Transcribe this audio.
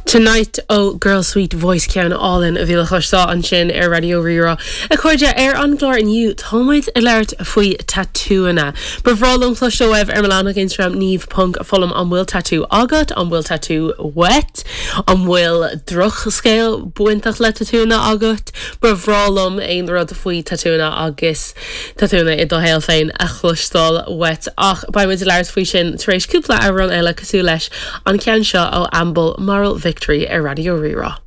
Tonight ó Girl Sweet Voice ceann álainn a bhí le cloisteáil ansin ar Raidió Rí-Rá. A chairde, ar an gclár inniu tá muid ag labhairt faoi tatúanna. Ba bhreá liom cloisteáil uaibh ar mo leathanach Instagram Niamh ponc Fullam an bhfuil tatú agat? An bhfuil tatú uait? An bhfuil drochscéal bainteach le tatúanna agat? Ba bhreá liom aon rud faoi tatúanna agus tatúanna i do shaol féin a chloisteáil uait ach beidh muid ag labhairt faoi sin tar éis cúpla amhrán eile cosúil leis an ceann seo ó Amble, Moral Victory ar Raidió Rí-Rá.